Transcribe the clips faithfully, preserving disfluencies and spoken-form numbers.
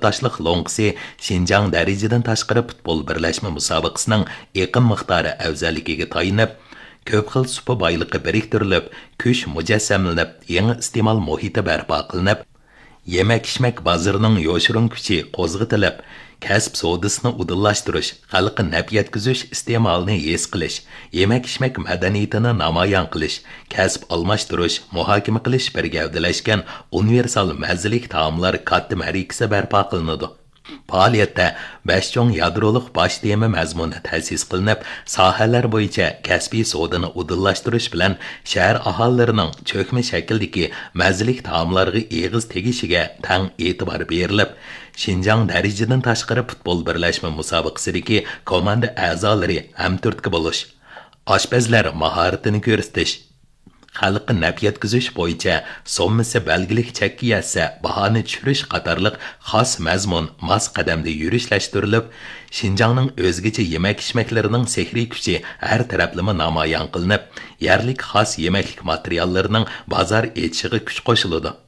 تاشلىق لوڭقىسى شىنجاڭ دەرىجىدىن تاشقىرى پۇتبول بىرلەشمە مۇسابىقىسىنىڭ ئېقىم مىقدارى ئەۋزەللىكىگە تايىنىپ، كۆپ خىل سۇپا بايلىقى بىرىكتۈرۈلۈپ، كۈچ مۇجەسسەملىنىپ، يېڭى ئىستېمال مۇھىتى بەرپا قىلىنىپ، يېمەك-ئىچمەك بازىرىنىڭ يوشۇرۇن كۈچى قوزغىتىلىپ، كەسىپ سودىسىنى ئۇدۇللاشتۇرۇش، خەلققە نەپ يەتكۈزۈش ئىستېمالىنى ھېس قىلىش، يېمەك-ئىچمەك مەدەنىيىتىنى نامايان قىلىش، كەسىپ ئالماشتۇرۇش، مۇھاكىمە قىلىش بىر گەۋدىلەشكەن ئۇنىۋېرسال مەززىلىك تائاملار كاتتا مەرىكىسى بەرپا قىلىنىدۇ. پائالىيەتتە بەش چوڭ يادرولۇق باش تېما مەزمۇنى تەسىس قىلىنىپ، ساھەلەر بويىچە كەسپىي سودىنى ئۇدۇللاشتۇرۇش بىلەن شەھەر ئاھالىلىرىنىڭ چۆكمە شەكىلدىكى مەززىلىك تائاملارغا ئېغىز تېگىشىگە تەڭ ئېتىبار بېرىلىپ، شىنجاڭ دەرىجىدىن تاشقىرى پۇتبول بىرلەشمە مۇسابىقىسىدىكى كوماندا ئەزالىرى ھەمتۈرتكە بولۇش، ئاشپەزلەر ماھارىتىنى كۆرسىتىش، خەلققە نەپ يەتكۈزۈش بويىچە سوممىسى بەلگىلىك چەككە يەتسە، باھانى چۈشۈرۈش قاتارلىق خاس مەزمۇن ماس قەدەمدە يۈرۈشلەشتۈرۈلۈپ، شىنجاڭنىڭ ئۆزگىچە يېمەك-ئىچمەكلىرىنىڭ سېھرىي كۈچى ھەر تەرەپلىمە نامايان قىلىنىپ، يەرلىك خاس يېمەكلىك ماتېرىياللىرىنىڭ بازار ئېچىشىغا كۈچ قوشۇلىدۇ.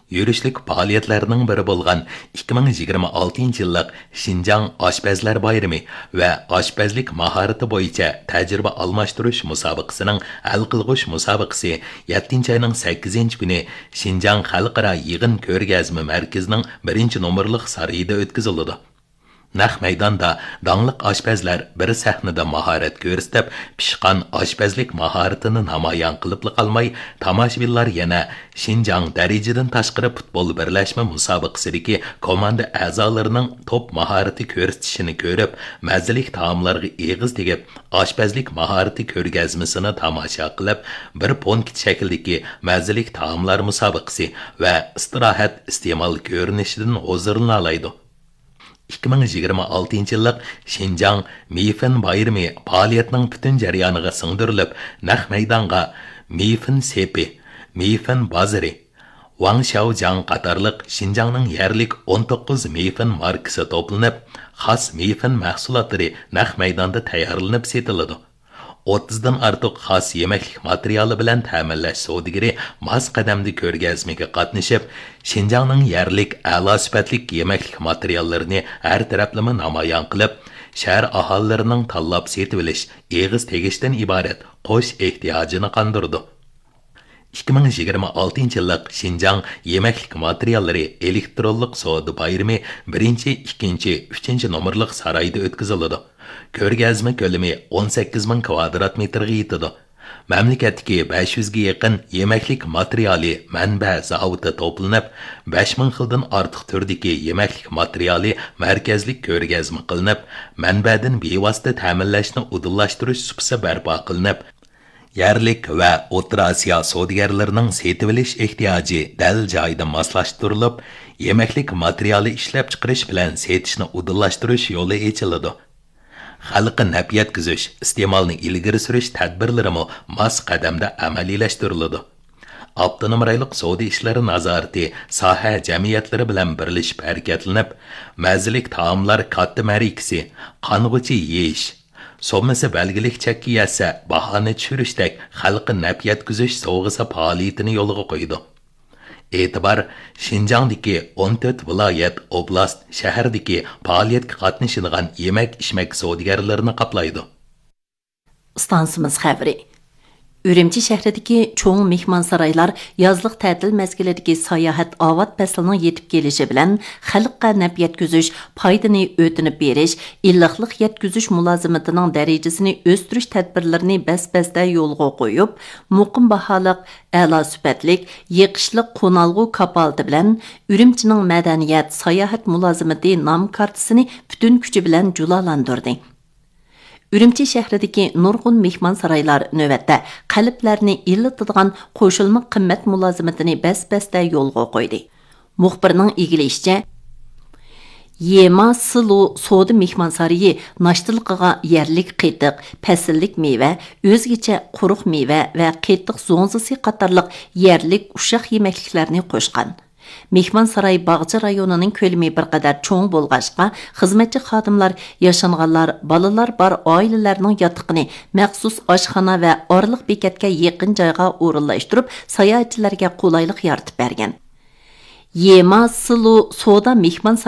يۈرۈشلۈك پائالىيەتلەرنىڭ بىرى بولغان ئىككى مىڭ يىگىرمە ئالتىنچى يىللىق شىنجاڭ ئاشپەزلەر بايرىمى ۋە ئاشپەزلىك ماھارىتى بويىچە تەجرىبە ئالماشتۇرۇش مۇسابىقىسىنىڭ ھەل قىلغۇچ مۇسابىقىسى يەتتىنچى ئاينىڭ سەككىزىنچى كۈنى شىنجاڭ خەلقئارا يىغىن كۆرگەزمە مەركىزىنىڭ بىرىنچى نومۇرلۇق سارىيىدا ئۆتكۈزۈلىدۇ. نەق مەيداندا داڭلىق ئاشپەزلەر بىر سەھنىدە ماھارەت كۆرسىتىپ، پىشقان ئاشپەزلىك ماھارىتىنى نامايان قىلىپلا قالماي، تاماشىبىنلار يەنە شىنجاڭ دەرىجىدىن تاشقىرى پۇتبول بىرلەشمە مۇسابىقىسىدىكى كوماندا ئەزالىرىنىڭ توپ ماھارىتى كۆرسىتىشىنى كۆرۈپ، مەززىلىك تائاملارغا ئېغىز تېگىپ، ئاشپەزلىك ماھارىتى كۆرگەزمىسىنى تاماشا قىلىپ، بىر پونكىت شەكلىدىكى مەززىلىك تائاملار مۇسابىقىسى ۋە ئىستىراھەت ئىستېمال كۆرۈنۈشىدىن ھۇزۇرلىنالايدۇ. ئىككى مىڭ يىگىرمە ئالتىنچى يىللىق شىنجاڭ مېيفېن بايرىمى پائالىيەتنىڭ پۈتۈن جەريانىغا سىڭدۈرۈلۈپ، نەق مەيدانغا مېيفېن سېپى، مېيفېن بازىرى، ۋاڭ شياۋجياڭ قاتارلىق شىنجاڭنىڭ يەرلىك ئون توققۇز مېيفېن ماركىسى توپلىنىپ، خاس مېيفېن مەھسۇلاتلىرى نەق مەيداندا تەييارلىنىپ سېتىلىدۇ. ئوتتۇزدىن ئارتۇق خاس يېمەكلىك ماتېرىيالى بىلەن تەمىنلەش سودىگىرى ماس قەدەمدە كۆرگەزمىگە قاتنىشىپ، شىنجاڭنىڭ يەرلىك ئەلا سۈپەتلىك يېمەكلىك ماتېرىياللىرىنى ھەر تەرەپلىمە نامايان قىلىپ، شەھەر ئاھالىلىرىنىڭ تاللاپ سېتىۋېلىش، ئېغىز تېگىشتىن ئىبارەت قوش ئېھتىياجىنى قاندۇرىدۇ. ئىككى مىڭ يىگىرمە ئالتىنچى يىللىق شىنجاڭ يېمەكلىك ماتېرىياللىرى ئېلېكترونلۇق سودا بايرىمى بىرىنچى، ئىككىنچى، ئۈچىنچى نومۇرلۇق سارايدا ئۆتكۈزۈلىدۇ. كۆرگەزمە كۆلىمى ئون سەككىز مىڭ كۋادرات مېتىرغا يېتىدۇ. مەملىكەتتىكى بەش يۈزگە يېقىن يېمەكلىك ماتېرىيالى مەنبە زاۋۇتى توپلىنىپ، بەش مىڭ خىلدىن ئارتۇق تۈردىكى يېمەكلىك ماتېرىيالى مەركەزلىك كۆرگەزمە قىلىنىپ، مەنبەدىن بىۋاسىتە تەمىنلەشنى ئۇدۇللاشتۇرۇش سۇپىسى بەرپا قىلىنىپ، يەرلىك ۋە ئوتتۇرا ئاسىيا سودىگەرلىرىنىڭ سېتىۋېلىش ئېھتىياجى دەل جايىدا ماسلاشتۇرۇلۇپ، يېمەكلىك ماتېرىيالى ئىشلەپچىقىرىش بىلەن سېتىشنى ئۇدۇللاشتۇرۇش يولى ئېچىلىدۇ. خەلققە نەپ يەتكۈزۈش، ئىستېمالنى ئىلگىرى سۈرۈش تەدبىرلىرىمۇ ماس قەدەمدە ئەمەلىيلەشتۈرۈلىدۇ. ئاپتونوم رايونلۇق سودا ئىشلىرى نازارىتى ساھە جەمئىيەتلىرى بىلەن بىرلىشىپ ھەرىكەتلىنىپ، مەززىلىك تائاملار كاتتا مەرىكىسى، قانغۇچە يېيىش، سوممىسى بەلگىلىك چەككە يەتسە، باھانى چۈشۈرۈشتەك خەلققە نەپ يەتكۈزۈش سوۋغىسى پائالىيىتىنى يولغا قويىدۇ. ئېتىبار شىنجاڭدىكى ئون تۆت ۋىلايەت، ئوبلاست، شەھەردىكى پائالىيەتكە قاتنىشىدىغان يېمەك-ئىچمەك سودىگەرلىرىنى قاپلايدۇ. ئىستانسىمىز خەۋىرى. ئۈرۈمچى شەھىرىدىكى چوڭ مېھمانسارايلار يازلىق تەتىل مەزگىلىدىكى ساياھەت ئاۋات پەسلىنىڭ يېتىپ كېلىشى بىلەن خەلققە نەپ يەتكۈزۈش، پايدىنى ئۆتۈنۈپ بېرىش، ئىللىقلىق يەتكۈزۈش مۇلازىمىتىنىڭ دەرىجىسىنى ئۆستۈرۈش تەدبىرلىرىنى بەس-بەستە يولغا قويۇپ، مۇقىم باھالىق، ئەلا سۈپەتلىك، يېقىشلىق قونالغۇ كاپالىتى بىلەن ئۈرۈمچىنىڭ مەدەنىيەت، ساياھەت مۇلازىمىتى نام كارتىسىنى پۈتۈن كۈچى بىلەن جۇلالاندۇردى. ئۈرۈمچى شەھىرىدىكى نۇرغۇن مېھمانسارايلار نۆۋەتتە قەلبلەرنى ئىللىتىدىغان قوشۇلما قىممەت مۇلازىمىتىنى بەس-بەستە يولغا قويدى. مۇخبىرنىڭ ئىگىلىيىشىچە، يېما سىلۇ سودا مېھمانسارىيى ناشتىلىقىغا يەرلىك قېتىق، پەسىللىك مېۋە، ئۆزگىچە قۇرۇق مېۋە ۋە قېتىق زوڭزىسى قاتارلىق يەرلىك ئۇششاق يېمەكلىكلەرنى قوشقان. مېھمانساراي باغچە رايونىنىڭ كۆلىمى بىر قەدەر چوڭ بولغاچقا، خىزمەتچى خادىملار ياشانغانلار، بالىلار بار ئائىلىلەرنىڭ ياتىقىنى مەخسۇس ئاشخانا ۋە ئارىلىق بېكەتكە يېقىن جايغا ئورۇنلاشتۇرۇپ، ساياھەتچىلەرگە قولايلىق يارىتىپ بەرگەن. يېما سىلۇ سودا مېھمان